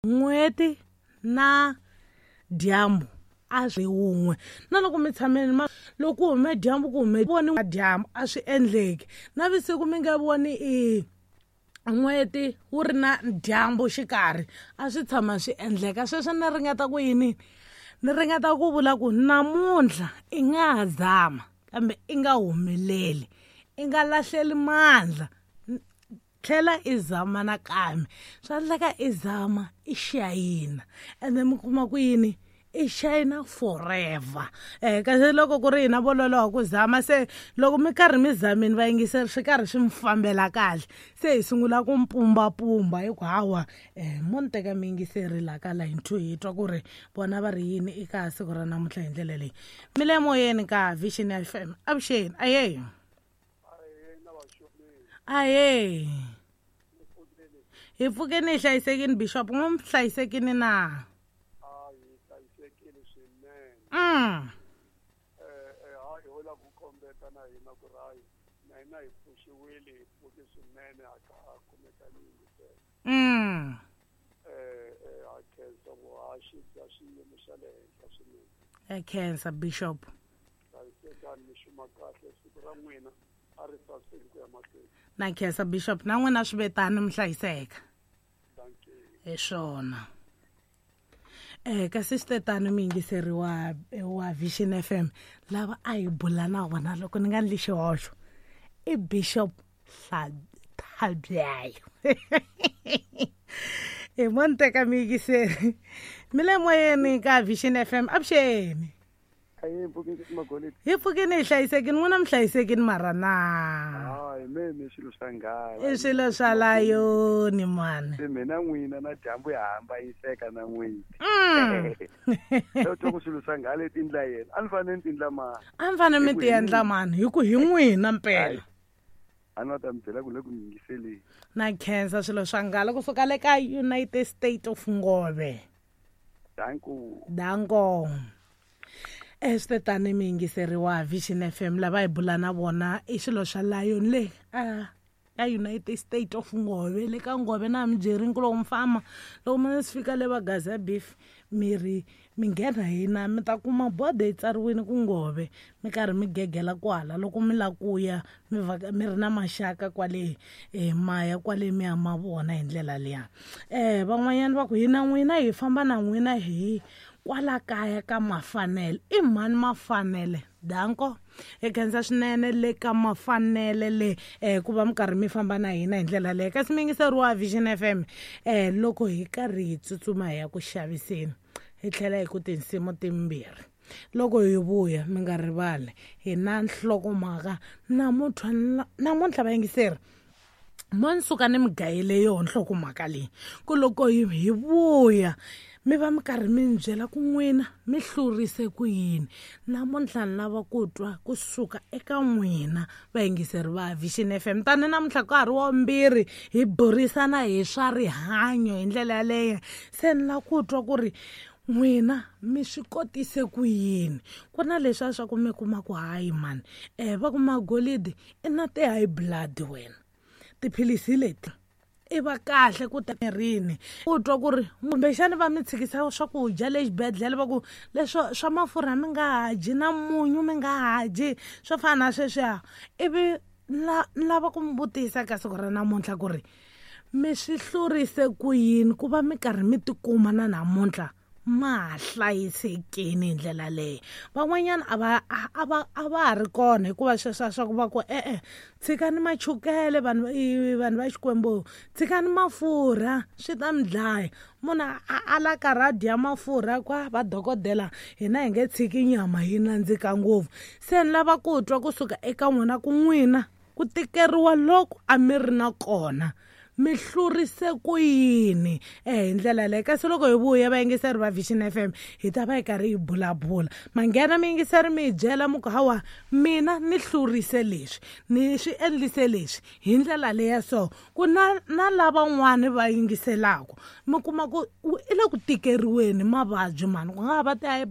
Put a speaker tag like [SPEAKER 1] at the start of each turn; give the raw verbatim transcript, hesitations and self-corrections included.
[SPEAKER 1] N'weti na dyambu a swi wun'we na loko mi tshameni ma loko ku hume dyambu ku hume voni dyambu a swi endleki navusiku mi nge voni i n'weti wu ri na dyambu xikarhi a swi tshama swi endleka. Sweswo ni ringeta ku yini, ni ringeta ku vula ku namuntlha i nga ha zama kambe i nga humeleli, i nga lahleli mandla, tlhela i zama nakambe. Swa endleka i zama i xayina ende mi kuma ku yini, i xayina forever. Eh kasi loko ku ri hina vo loloha ku zama, se loko mi karhi mi zamini vayingiseri swi karhi swi mi fambela kahle, se hi sungula ku mpumbapumba hi ku hawa eh mo ni teka miyingiseri laha ka line two hi twa ku ri vona va ri yini eka siku ra namuntlha hi ndlela leyi. Mi le moyeni ka Vision F M. Avuxeni. Ahee. Ahee. Hi pfukeni hi hlayisekini Bishop, n'wi mi hlayisekini na? Mm.
[SPEAKER 2] Eh eh hayi hola ku kombeta na hina ku ri na hina hi pfuxiwile hi pfuke swinene a ka kumeka yingisela.
[SPEAKER 1] Mm.
[SPEAKER 2] Eh eh a khensa vuhaxi bya xiyimo xa le henhla swinene.
[SPEAKER 1] A khensa Bishop.
[SPEAKER 2] Hlayisekani mi xuma kahle siku ra n'wina a ri saseki ku ya mahlweni.
[SPEAKER 1] Na khensa Bishop, na n'wina swi vetani mi hlayiseka.
[SPEAKER 2] Thank you.
[SPEAKER 1] Hi swona. Eh kasi swi mi yingiseri wa wa Vision F M lava a hi bula na vona loko ni nga ndli xihoxo i Bishop Thabyayo. Hi mo ni teka mi yingiseri mi le moyeni ka Vision F M. Avuxeni. Hi pfukini hi hlayisekini, n'wina mi hlayisekini mara na?
[SPEAKER 2] Hayi me mi swilo swa nghala.
[SPEAKER 1] I swilo swa layoni mani.
[SPEAKER 2] Se mina n'wina na dyambu ya hambanyiseka na n'wina.
[SPEAKER 1] Mm.
[SPEAKER 2] Loko twa ku swilo swa nghala i tindla yena, a ni fanele ni tindla mani.
[SPEAKER 1] A ni fanele mi ti endla mani hi ku hi n'wina mpela.
[SPEAKER 2] A ni ta mi byela ku le ku yingiseleni.
[SPEAKER 1] Na khensa swilo swa nghala kusuka le ka United States of Ngove.
[SPEAKER 2] Danko.
[SPEAKER 1] Danko. Estetani mi yingiseri wa Vision F M lava hi bula na vona i swilo swa Lion le a ka United States of Ngove le ka Ngove na mi byerini ku loko mi famba loko mi swi fika le va Gaza Beef mi ri mi nghena hina mi ta kuma bodo yi tsariwile ku Ngove mi karhi mi gegela kwala loko mi la ku ya mi va mi ri na maxaka kwale eh maya kwale mi ya ma vona hi ndlela liya. Eh van'wanyana va ku hina n'wina hi famba na n'wina hi kwala kaya ka Mafanele. I mhani Mafanele? Danko. Hi khensa swinene le ka Mafanele le eh ku va mi karhi mi famba na hina hi ndlela leyi. Kasi mi yingiseri wa Vision F M eh loko hi karhi hi tsutsuma hi ya ku xaviseni hi tlhela hi ku tinsimu timbirhi. Loko hi vuya mi nga rivali hi na nhlokomhaka namuntlha namuntlha vayingiseri mo ni suka ni mi gayele yona nhlokomhaka leyi ku loko hi hi vuya mi va mi karhi mi ni byela ku n'wina mi hlurise ku yini. Namuntlha ni lava ku twa kusuka eka n'wina vayingiseri va Vision F M. Tani namuntlha ka ha ri wa vumbirhi hi burisana hi swa rihanyo hi ndlela yaleyo, se ni lava ku twa ku ri n'wina mi swi kotise ku yini. Ku na leswiya swa ku mi kuma ku hayi mani eh va ku magolidi i na ti-high blood wena, tiphilisi leti i va kahle ku ta mirini. U twa ku ri kumbexani va mi tshikisa swakudya le xibedhlele va ku leswo swa mafurha mi nga ha dyi na munyu mi nga ha dyi swo fana na sweswiya. Ivi la lava ku mi vutisa ka siku ra namuntlha ku ri mi swi hlurise ku yini ku va mi karhi mi tikuma na namuntlha ma ha hlayisekini hi ndlela leyi. Van'wanyana a va a va a va ha ri kona hikuva sweswiya swa ku va ku e-e tshikani machukele vanhu vanhu va Xikwembu, tshikani mafurha swi ta mi dlaya. Munhu a ala karhi a dya mafurha kwa va dokodela hina hi nge tshiki nyama yi nandzika ngopfu. Se ni lava ku twa kusuka eka n'wina ku n'wina ku tikeriwa loko a mi ri na kona mi hlurise ku yini eh hi ndlela leyi. Kasi loko hi vuya vayingiseri va Vision F M hi ta va hi karhi hi bulabula. Manghena miyingiseri mi hi byela mi ku hawa mina ni hlurise leswi ni swi endlise leswi hi ndlela leya so ku na na lavan'wani va yingiselaka mi kuma ku i le ku tikeriweni mavabyi mani ku nga ha va ti-high